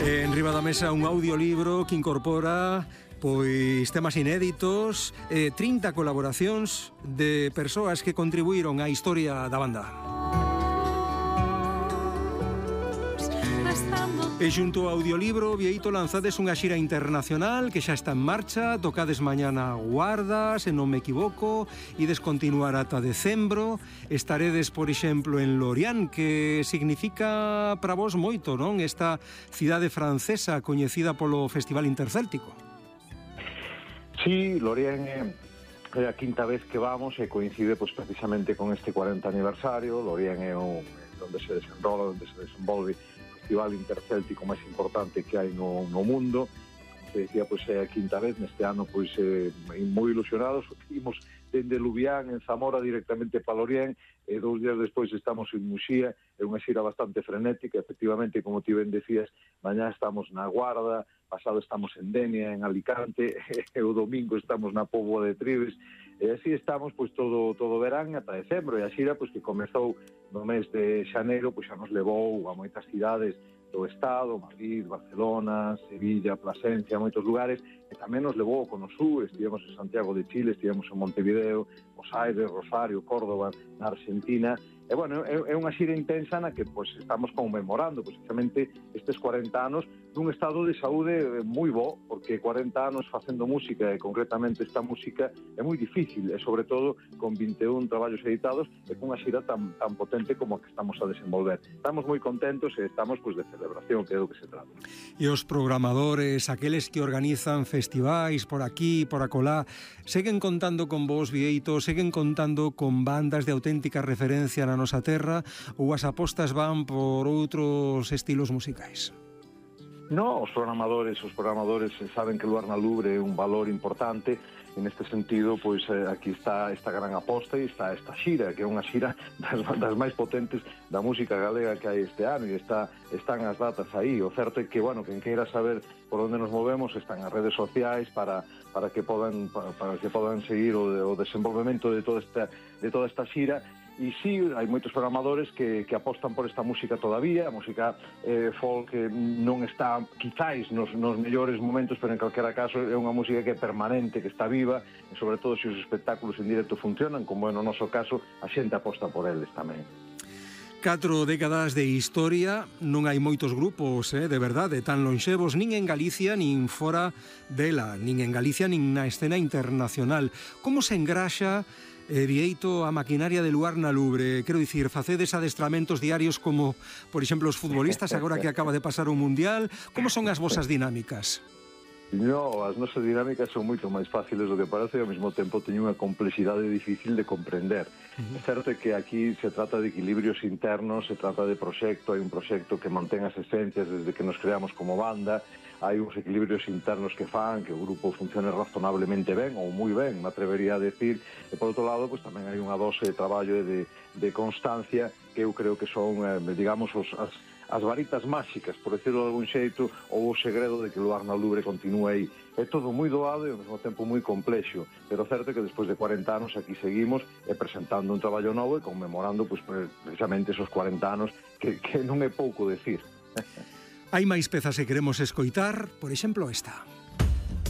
En riba da mesa un audiolibro que incorpora pois temas inéditos, 30 colaboracións de persoas que contribuíron á historia da banda. E xunto ao audiolibro, Bieito, lanzades unha xira internacional que xa está en marcha, tocades mañá na Guarda, se non me equivoco, e descontinuar ata decembro. Estaredes, por exemplo, en Lorient, que significa para vos moito, non? Esta cidade francesa coñecida polo Festival Intercéltico. Sí, Lorient é a quinta vez que vamos e coincide precisamente con este 40 aniversario. Lorient é onde se desenrola, onde se desenvolve Festival Intercéltico máis importante que hai no mundo. Como se decía, é a quinta vez. Neste ano, moi ilusionados. Imos dende Lubián, en Zamora, directamente para Lorient, e 2 días despois estamos en Muxía. É unha xira bastante frenética, efectivamente, como ti ben decías, mañá estamos na Guarda, pasado estamos en Denia, en Alicante, e o domingo estamos na Póvoa de Trives, e así estamos todo verán ata decembro. E a xira que comezou no mes de xaneiro xa nos levou a moitas cidades do Estado, Madrid, Barcelona, Sevilla, Plasencia, moitos lugares, e tamén nos levou ao Cono Sur. Estivemos en Santiago de Chile, estivemos en Montevideo, Buenos Aires, Rosario, Córdoba, na Argentina. E, é unha xira intensa na que estamos conmemorando precisamente estes 40 anos dun estado de saúde moi bo, porque 40 anos facendo música, e concretamente esta música, é moi difícil, e sobre todo con 21 traballos editados e cunha xira tan potente como a que estamos a desenvolver. Estamos moi contentos e estamos de celebración, que é do que se trata. E os programadores, aqueles que organizan festivais por aquí, por acolá, seguen contando con vos, Bieito, seguen contando con bandas de auténtica referencia na nosa terra, ou as apostas van por outros estilos musicais? No, os programadores saben que Luar na Lubre é un valor importante, e neste sentido, aquí está esta gran aposta e está esta xira, que é unha xira das máis potentes da música galega que hai este ano, e están as datas aí. O certo é que, quen queira saber por onde nos movemos, están as redes sociais para que podan seguir o desenvolvemento de toda esta xira. E sí, hai moitos programadores que apostan por esta música todavía. A música folk non está quizáis nos mellores momentos, pero en calquera caso é unha música que é permanente, que está viva, e sobre todo se os espectáculos en directo funcionan, como é no noso caso, a xente aposta por eles tamén. 4 décadas de historia, non hai moitos grupos, de verdade, tan lonxevos, nin en Galicia, nin fora dela, nin en Galicia, nin na escena internacional. Como se engraxa, Bieito, a maquinaria de Luar na Lubre? Quero dicir, facedes adestramentos diarios como, por exemplo, os futbolistas, agora que acaba de pasar o Mundial? Como son as vosas dinámicas? No, as nosas dinámicas son moito máis fáciles do que parece, e ao mesmo tempo teñen unha complexidade difícil de comprender. É certo que aquí se trata de equilibrios internos, se trata de proxecto, hai un proxecto que mantén as esencias desde que nos creamos como banda, hai uns equilibrios internos que fan que o grupo funcione razonablemente ben, ou moi ben, me atrevería a decir, e por outro lado, tamén hai unha dose de traballo e de constancia que eu creo que son, digamos, as varitas máxicas, por decirlo de algún xeito, ou o segredo de que Luar na Lubre continúe aí. É todo moi doado e ao mesmo tempo moi complexo, pero certo que despois de 40 anos aquí seguimos presentando un traballo novo e conmemorando precisamente esos 40 anos que non é pouco decir. Hai máis pezas que queremos escoitar, por exemplo esta.